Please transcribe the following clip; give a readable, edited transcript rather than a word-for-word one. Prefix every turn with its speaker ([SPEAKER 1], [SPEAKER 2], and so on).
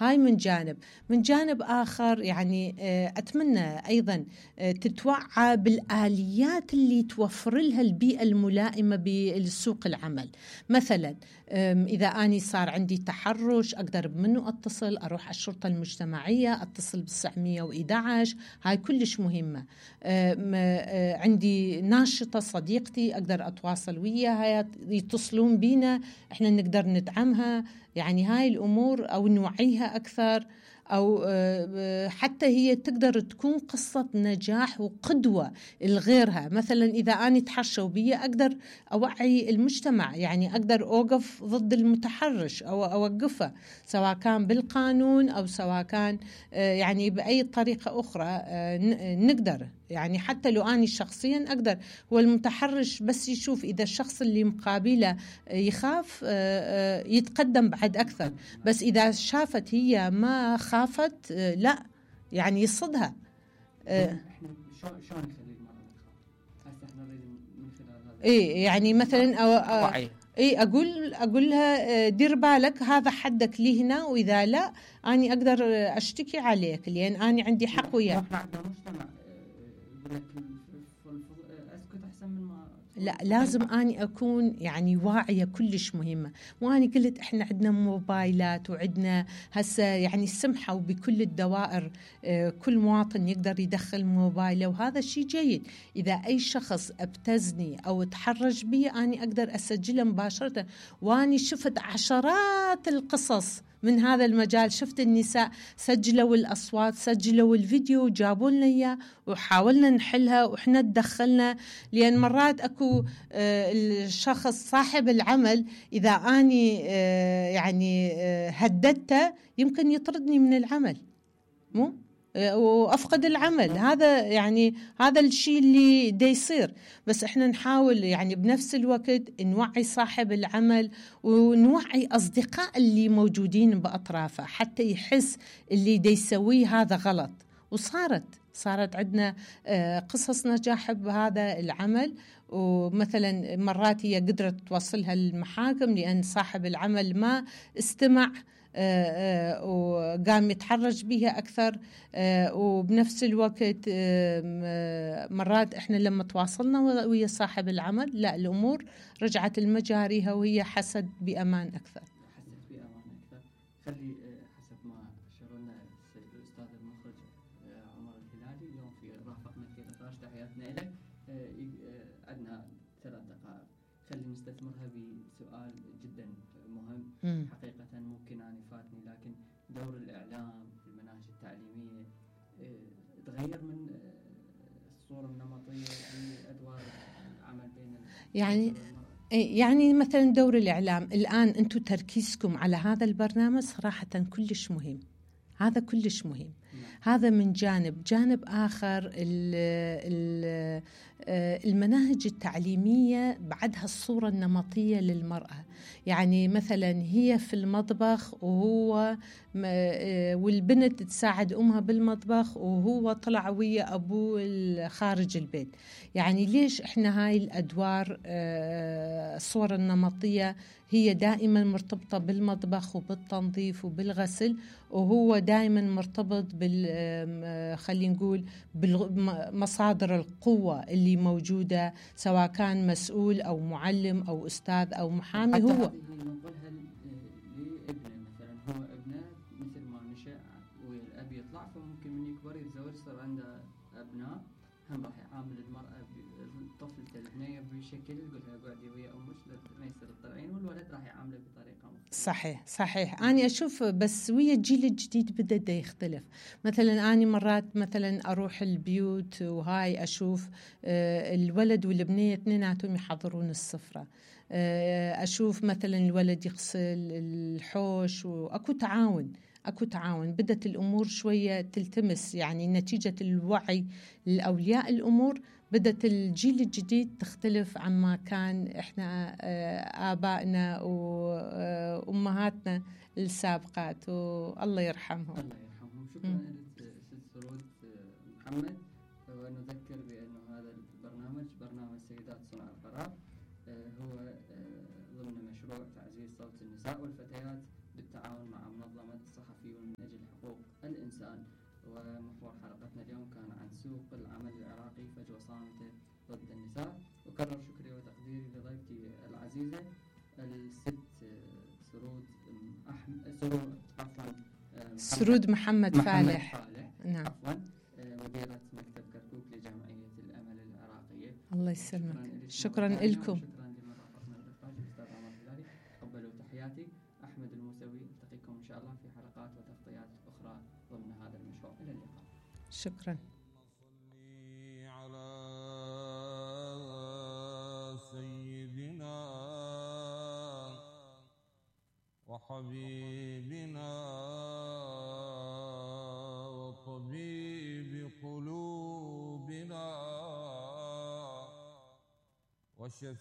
[SPEAKER 1] هاي من جانب. من جانب آخر يعني أتمنى أيضا تتوعى بالآليات اللي توفر لها البيئة الملائمة بالسوق العمل. مثلا إذا أني صار عندي تحرش أقدر منه أتصل، أروح الشرطة المجتمعية، أتصل ب911. هاي كلش مهمة. عندي ناشطة صديقتي أقدر أتواصل وياها، يتصلون بينا، إحنا نقدر ندعمها. يعني هاي الأمور أو نوعيها أكثر، أو حتى هي تقدر تكون قصة نجاح وقدوة لغيرها. مثلا إذا أنا تحرشوا بي أقدر أوعي المجتمع، يعني أقدر أوقف ضد المتحرش أو أوقفه، سواء كان بالقانون أو سواء كان يعني بأي طريقة أخرى. نقدر يعني حتى لو أنا شخصيا أقدر. هو المتحرش بس يشوف إذا الشخص اللي مقابله يخاف يتقدم بعد أكثر، بس إذا شافت هي ما خافت لا يعني يصدها.
[SPEAKER 2] احنا شلون نخلي المرأة ما تخاف؟ هسه احنا نريد من خلال هذا
[SPEAKER 1] ايه يعني مثلا ايه اقول لها دير بالك هذا حدك لي هنا، واذا لا اني اقدر اشتكي عليك لان اني عندي حق وياك.
[SPEAKER 2] احنا عندنا مجتمع يقول لك اسكت احسن من ما.
[SPEAKER 1] لا، لازم أني أكون يعني واعية، كلش مهمة. وأنا قلت إحنا عندنا موبايلات وعندنا هسه يعني سمحوا بكل الدوائر كل مواطن يقدر يدخل موبايله، وهذا شيء جيد. إذا أي شخص ابتزني أو تحرج بي أنا أقدر أسجله مباشرة. وأنا شفت عشرات القصص من هذا المجال، شفت النساء سجلوا الأصوات، سجلوا الفيديو وجابوا لنا إياه وحاولنا نحلها وإحنا تدخلنا. لأن مرات أكو الشخص صاحب العمل إذا أني يعني هددته يمكن يطردني من العمل مو وأفقد العمل. هذا يعني هذا الشيء اللي دا يصير. بس احنا نحاول يعني بنفس الوقت نوعي صاحب العمل ونوعي أصدقاء اللي موجودين بأطرافه حتى يحس اللي دا يسويه هذا غلط. وصارت عندنا قصص نجاح بهذا العمل. ومثلا مرات هي قدرت توصلها للمحاكم لأن صاحب العمل ما استمع وقام يتحرج بها أكثر. وبنفس الوقت مرات إحنا لما تواصلنا ويا صاحب العمل لا الأمور رجعت المجاريها وهي حست بأمان أكثر.
[SPEAKER 2] خلي حسب ما أشرنا الأستاذ المخرج عمر الهلالي اليوم في رافقنا في نقاش. تحياتنا لك. عندنا 3 دقائق، خلي نستثمرها بسؤال جدا مهم. حقيقة ممكن أن يفاتني، لكن دور الإعلام في المناهج التعليمية تغير من الصورة النمطية في أدوار العمل بين
[SPEAKER 1] يعني مثلا دور الإعلام الآن أنتم تركيزكم على هذا البرنامج صراحة كلش مهم. هذا كلش مهم. هذا من جانب آخر المناهج التعليمية بعدها الصورة النمطية للمرأة. يعني مثلا هي في المطبخ وهو والبنت تساعد أمها بالمطبخ وهو طلع ويا أبوه خارج البيت. يعني ليش إحنا هاي الأدوار الصورة النمطية هي دائما مرتبطة بالمطبخ وبالتنظيف وبالغسل، وهو دائما مرتبط خلينا نقول بمصادر القوة اللي موجودة، سواء كان مسؤول أو معلم أو أستاذ أو محامي. هو
[SPEAKER 2] نقولها لابنه مثلا، هو ابنه مثل ما نشأ والأب يطلع، فممكن من يكبر يتزوج صار عنده أبناء، هم راح يعامل المرأة الطفل البنية بشكل، يقول لها قعدي ويا أمك ما يصير تطلعين، والولد راح يعامله بطريقة مختلفة. صحيح.
[SPEAKER 1] أنا أشوف بس ويا الجيل الجديد بدأ يختلف. مثلا أنا مرات مثلا أروح البيوت وهاي أشوف الولد والبنية اثنيناتهم يحضرون السفرة. أشوف مثلا الولد يغسل الحوش وأكو تعاون. بدت الأمور شوية تلتمس، يعني نتيجة الوعي لأولياء الأمور بدت الجيل الجديد تختلف عما كان إحنا آبائنا وأمهاتنا السابقات، والله يرحمهم.
[SPEAKER 2] شكرا لك سرود محمد. ونذكر بأنه هذا البرنامج برنامج سيدات صنع القرار، هو ضمن مشروع تعزيز صوت النساء والفتيات بالتعاون مع منظمة الصحفيون ومحور حلقتنا اليوم كان عن سوق العمل العراقي فجوة صامتة ضد النساء. وكرر شكري وتقديري لضيفتي العزيزة الست
[SPEAKER 1] سرود محمد فالح. نعم.
[SPEAKER 2] عفوا مديرة مكتب كركوك لجمعية الأمل العراقية.
[SPEAKER 1] الله يسلمك. شكرا لكم.
[SPEAKER 2] شكرا لمن رافقنا بالإخراج الأستاذ عمر الهلالي. تقبلوا تحياتي. أحمد الموسوي. نلتقيكم إن شاء الله في حلقات وتغطيات أخرى ضمن هذا المشروع. إلى اللقاء.
[SPEAKER 1] شكرا.
[SPEAKER 3] على سيدنا وحبيبنا وطبيب قلوبنا